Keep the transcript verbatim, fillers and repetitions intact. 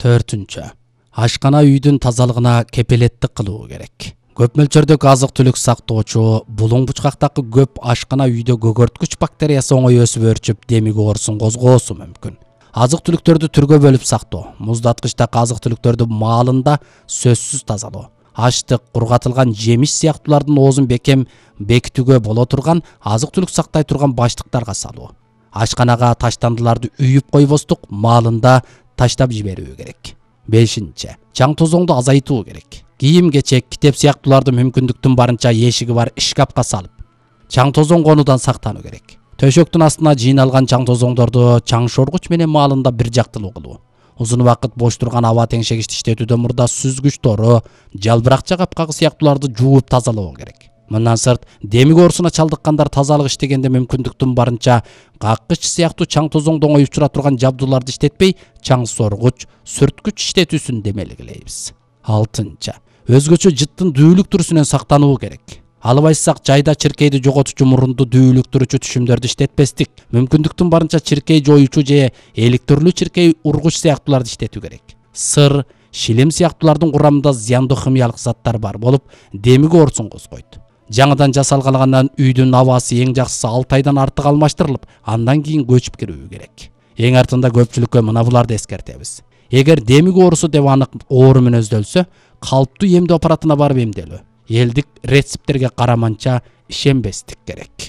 Төртүнчү. Ашкана үйдүн тазалыгына кепилеттик кылуу керек. Көп мөлчөрдөгү азык-түлүк сактоочу булуң бучкактагы көп ашкана үйдө көгөрткүч бактериясы оңой өсүп өөрчүп демиги оорусун козгоосу мүмкүн. Азык-түлүктөрдү түргө бөлүп сактоо, муздаткычтагы азык-түлүктөрдү маалында сөзсүз тазалоо, аштык, кургатылган жемиш сыяктуулардын оозун бекем бекитүүгө боло турган азык-түлүк сактай турган баштыктарга салуу. Ашканага таштандыларды үйүп койбостук, маалында таштап жиберүү керек. Бешинчи. Чаң тозоңду азайтуу керек. Кийим-кечек, китеп сыяктууларды мүмкүндүктүн барынча эшиги бар шкафка салып, чаң тозоң конуудан сактануу керек. Төшөктүн астына жыйналган чаң тозоңдорду чаң шоргуч менен маалында бир жактылуу кылуу. Узун убакыт бош турган аба теңшегичти иштетүүдөн мурда сүзгүч тору, жалбыракча капкагы сыяктууларды жууп тазалоо керек. Мындан сырт, демик оорусуна чалдыккандар тазалык иштегенде мүмкүндүктүн барынча каккыч сыяктуу чаң тозоңдо оңой учура турган жабдууларды иштетпей, чаң соргуч, сүрткүч иштетүүсүн демелгилейбиз. Алтынчы. Өзгөчө жыттын дүүлүк түрүсүнөн сактануу керек. Албайсак жайда чиркейди жоготучу мурунду дүүлүктүрүүчү түшүмдөрдү иштетпестик, мүмкүндүктүн барынча чиркей жоюучу же электрлүү чиркей ургуч сыяктууларды иштетүү керек. Сыр, шилим сыяктуулардын курамында зыяндуу химиялык заттар бар болуп, демик оорусун козгойт. Жаңыдан жасалгандан үйдүн абасы эң жакшысы алты айдан артык алмаштырылып, андан кийин көчүп кирүү керек. Эң артында көпчүлүккө мына буларды эскертебиз. Эгер демик оорусу деп анык оору мүнөздөлсө, калыптуу эмдөө аппаратына барып эмделүү. Элдик рецепттерге караманча ишенбестик керек.